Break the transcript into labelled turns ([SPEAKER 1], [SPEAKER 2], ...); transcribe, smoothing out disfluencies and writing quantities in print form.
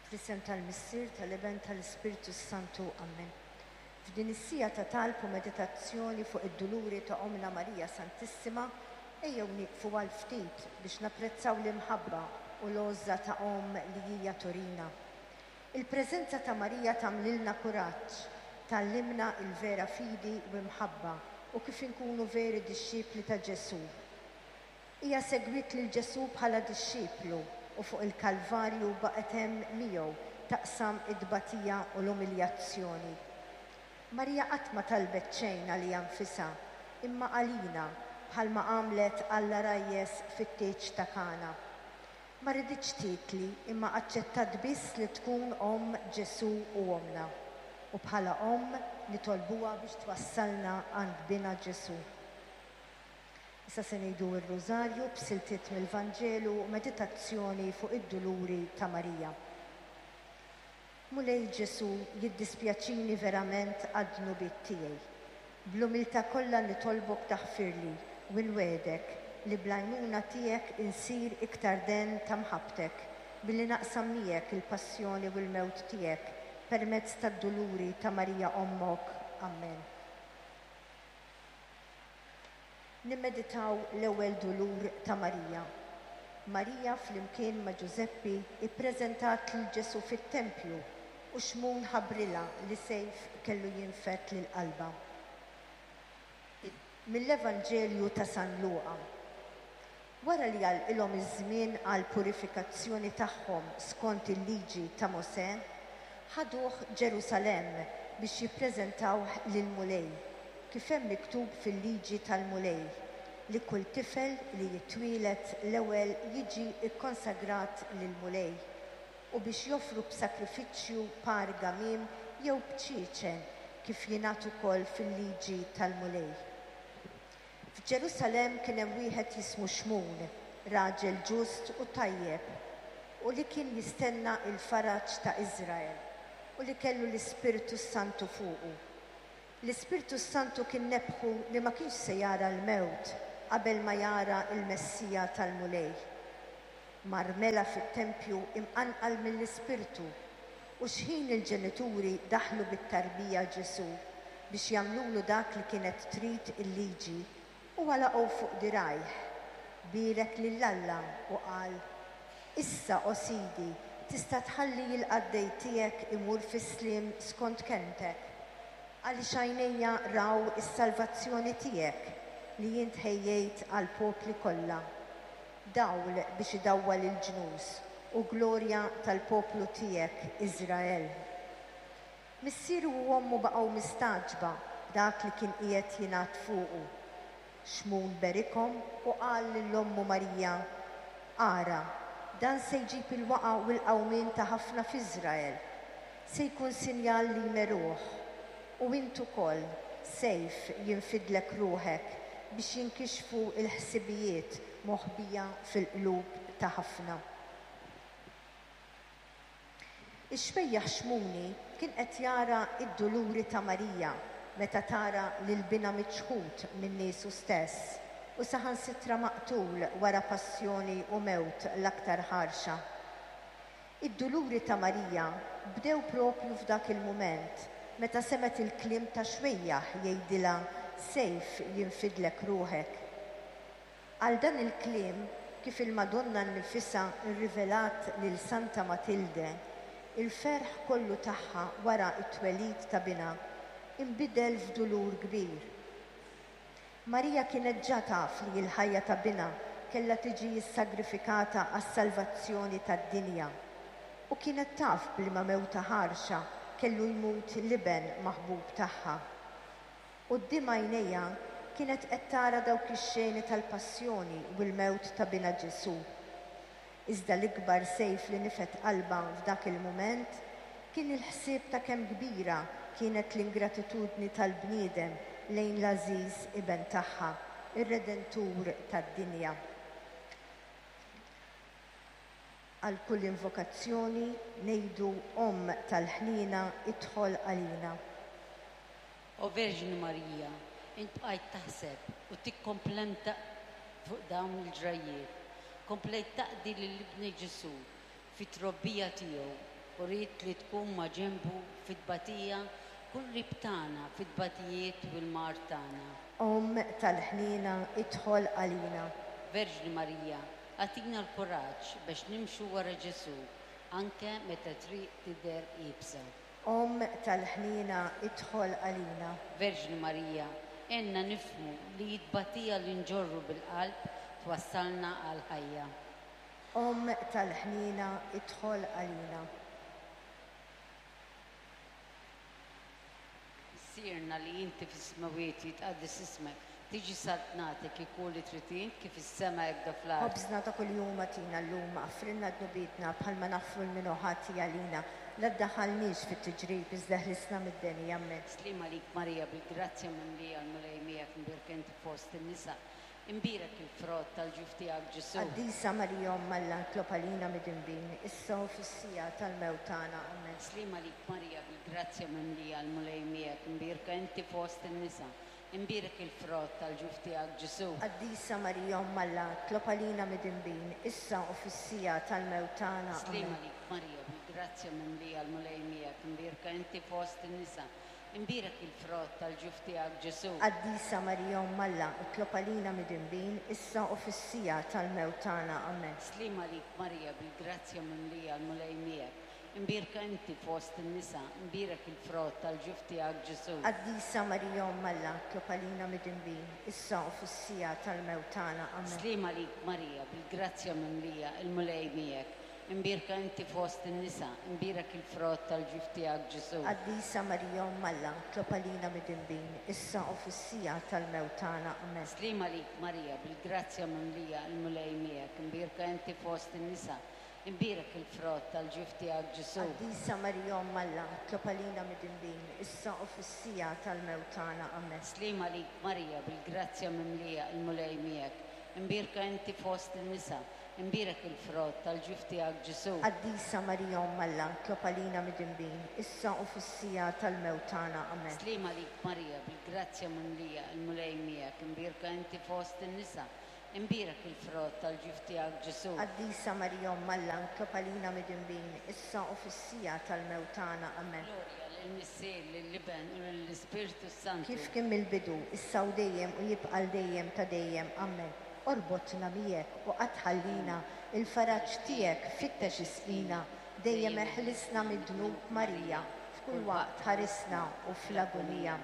[SPEAKER 1] Fl-isem tal-Missier, tal-Iben, tal-Ispirtu s-Santu. Ammen. F'din is-siegħa ta' talb u meditazzjoni fuq id-duluri ta' Ommna Marija Santissima, ejjew nieqfu għal ftit biex napprezzaw l-imħabba u l-għożża ta' Omm li hija turina. Il-preżenza ta' Marija tagħmlilna kuraġġ, tgħallimna l-vera fidi u imħabba u kif inkunu veri dixxipli ta' Ġesù. Hija segwiet lil Ġesù bħala dixxiplu u fuq il-Kalvarju baqgħet hemm miegħu taqsam it-tbatija u l-umiljazzjoni. Marija qatt ma talbet xejn għaliha nfisha, imma għalina, bħalma għamlet għall-għarajjes fit-tieġ ta' Kana. Ma riditx titli imma aċċettat biss li tkun omm Ġesù u ommna. U bħala omm nitolbuha biex twassalna għand Binha Ġesù. Issa se ngħidu r-Rużarju b'siltiet mill-Vanġelu u meditazzjoni fuq id-duluri ta' Marija. Mulej Ġesù, jiddispjaċini verament għad-dnubiet tiegħi. Bl-umiltà kollha nitolbok taħfirli u nwegħdek li bl-għajnuna tiegħek insir iktar den ta' mħabbtek billi naqsam miegħek il-passjoni u l-mewt tiegħek permezz tad-duluri ta' Marija Ommok. Ammen. Nimmeditaw l-ewwel dulur ta' Marija. Marija flimkien ma' Ġużeppi ippreżentat lil Ġesù fit-tempju u Xmun ħabbrilha li sejf kellu jinfed lil qalbha. Mill-Evanġelju ta' San Luqa. Wara li għalqilhom iż-żmien għall-purifikazzjoni tagħhom skont il-Liġi ta' Mosè, ħaduh Ġerusalemm biex jippreżentawh lill-Mulej, kif hemm miktub fil-Liġi tal-Mulej, li kull tifel li jitwieled l-ewwel jiġi kkonsagrat lill-Mulej, u biex joffru b'sagrifiċċju par gamiem jew bċieċen, kif jingħad ukoll fil-Liġi tal-Mulej. F'Ġerusalemm kien hemm wieħed jismu Xmun, raġel ġust u tajjeb, u li kien jistenna l-faraġ ta' Iżrael, u li kellu l-Ispirtu s-Santu fuqu. L-Ispirtu s-Santu kien nebbħu li ma kienx se jara l-mewt qabel ma jara l-Messija tal-Mulej. Mar mela fit-tempju imqanqal mill-Ispirtu, u xħin il-ġenituri daħlu bit-tarbija Ġesù biex jagħmlulu dak li kienet trid il-Liġi, huwa laqgħu fuq dirgħajh, bierek lil Alla u qal, Issa, o Sidi, tista' tħalli l-qaddej tiegħek imur fis-sliem skont kelmtek, għaliex għajnejja raw is-salvazzjoni tiegħek li int ħejjejt għall-popli kollha. Dawl biex idawwal il-ġnus u glorja tal-poplu tiegħek Iżrael. Missieru u ommu baqgħu mistagħġba b'dak li kien qiegħed jingħad fuqu. Xmun berikhom u qal lil ommu Marija, Ara, dan se jġib il-waqgħa u l-qawmien ta' ħafna f'Iżrael. Se jkun sinjal li jmeruh. U int ukoll, sejf jinfidlek ruħek biex jinkixfu l-ħsibijiet moħbija fil-qlub ta' ħafna. Ix-xbejjaħ Xmuni kien qed jara d-duluri ta' Marija meta tara lil binha miċħud minn niesu stess u saħansitra maqtul wara passjoni u mewt l-aktar ħarxa. Id-duluri ta' Marija bdew proprju f'dak il-mument meta semgħet il-kliem ta' xwejjaħ jgħidilha sejf jinfidlek ruħek. Għal dan il-kliem, kif il-Madonna nnifisha rrivelat lil Santa Matilde, il-ferħ kollu tagħha wara t-twelid ta' binha inbidel f'dulur kbir. Marija kienet ġa taf li l-ħajja ta' Binha kellha tiġi ssagrifikata għas-salvazzjoni tad-dinja. U kienet taf b'liema mewta ħarxa kellu jmut l-Iben maħbub tagħha. Quddiem għajnejha kienet qed tara dawk ix-xeni tal-passjoni u l-mewt ta' Binha Ġesù. Iżda l-ikbar sejf li nifed qalbha f'dak il-mument kien il-ħsieb ta' kemm kbira kienet l-ingratitudni tal-bniedem lejn l-għażiż Iben tagħha, ir-Redentur tad-dinja. Għal kull invokazzjoni ngħidu Omm tal-Ħniena idħol għalina.
[SPEAKER 2] O Verġni Marija, int bqajt taħseb u tikkomplenta fuq dawn il-ġrajjiet. Komplejt taqdi lil Ibnek Ġesù fit-trobbija tiegħu. u ridt li tkun maġenbu fit-tbatija, kun qrib tagħna fit-tbatijiet u l-mard tagħna.
[SPEAKER 1] Omm tal-ħniena, idħol għalina.
[SPEAKER 2] Verġni Marija, agħtina l-kuraġġ biex nimxu wara Ġesù, anke meta t-triq tidher iebsa.
[SPEAKER 1] Omm tal-ħniena, idħol għalina.
[SPEAKER 2] Verġni Marija, għinna nifhmu li t-tbatija li nġorru bil-qalb twassalna għall-ħajja.
[SPEAKER 1] Omm tal-ħniena, idħol għalina.
[SPEAKER 2] Missierna li inti fis-smewwiet, jitqaddes ismek, tiġi saltnatek, ikun li trid int kif fis-sema hekk fl-art.
[SPEAKER 1] Ħobżna ta' kuljum agħtina llum, aħfrilna dnubietna bħalma naħfru lil min hu ħati għalina. La ddaħħalniex fit-tiġrib, iżda ħlisna mid-deni. Ammen.
[SPEAKER 2] Sliem għalik Marija, bil-grazzja mimlija, l-Mulej miegħek, imbierka inti fost in-nisa. Imbierek il-frott tal-ġuf tiegħek Ġesù.
[SPEAKER 1] Qaddisa Marija Omm Alla, itlob għalina midinbin, issa u fis-siegħa tal-mewt tagħna. Ammen.
[SPEAKER 2] Sliem għalik Marija, bil-grazzja mimlija, l-Mulej miegħek, imbierka inti fost in-nisa. Imbierek il-frott tal-ġuf tiegħek Ġesù.
[SPEAKER 1] Qaddisa Marija Omm Alla, itlob għalina midinbin, issa u fis-siegħa tal-mewt tagħna.
[SPEAKER 2] Sliem
[SPEAKER 1] Ammen.
[SPEAKER 2] għalik Marija, bil-grazzja mimlija, l-Mulej miegħek, imbierka inti fost in-nisa. Imbierek il-frott tal-ġuf tiegħek Ġesù.
[SPEAKER 1] Qaddisa Marija Omm Alla, itlob għalina midinbin, issa u fis-siegħa tal-mewt tagħna. Ammen.
[SPEAKER 2] Sliem għalik Marija, bil-grazzja mimlija, l-Mulej miegħek. Imbierka inti fost in-nisa, imbierek il-frott tal-ġuf tiegħek Ġesù.
[SPEAKER 1] Qaddisa Marija Omm Alla, itlob għalina midinbin, issa u fis-siegħa tal-mewt tagħna. Ammen.
[SPEAKER 2] Sliem għalik Marija, bil-grazzja mimlija, il-Mulej miegħek. Imbierka inti fost in-nisa, imbierek il-frott tal-ġuf tiegħek Ġesù.
[SPEAKER 1] Qaddisa Marija Omm Alla, itlob għalina midinbin, issa u fis-siegħa tal-mewt tagħna. Ammen.
[SPEAKER 2] Sliem għalik Marija, bil-grazzja mimlija, il-Mulej miegħek, imbierka inti fost in-nisa, imbierek il-frott tal-ġuf tiegħek Ġesù.
[SPEAKER 1] Qaddisa Marija Omm Alla, itlob għalina midinbin, issa u fis-siegħa tal-mewt tagħna. Ammen.
[SPEAKER 2] Sliem għalik Marija, bil-grazzja mimlija, il-Mulej miegħek, imbierka inti fost in-nisa, imbierek il-frott tal-ġuf tiegħek Ġesù.
[SPEAKER 1] Qaddisa Marija Omm Alla, itlob għalina midinbin, issa u fis-siegħa tal-mewt tagħna. Ammen.
[SPEAKER 2] Sliem għalik Marija, bil-grazzja mimlija, il-Mulej miegħek, imbierka inti fost in-nisa, imbierek il-frott tal-ġuf tiegħek Ġesù.
[SPEAKER 1] Qaddisa Marija Omm Alla, itlob għalina midinbin, issa u fis-siegħa tal-mewt tagħna. Ammen.
[SPEAKER 2] Glorja lill-Missier, lill-Iben u lill-Ispirtu Santu.
[SPEAKER 1] Kif kien mill-bidu, issa u dejjem u jibqa' l dejjem ta' dejjem. Ammen. Orbotna miegħek u qatt tħallina, il-faraġ tiegħek fittex isqina, dejjem eħlisna mid-dnub Marija, f'kull waqt ħarisna u fl-agunija.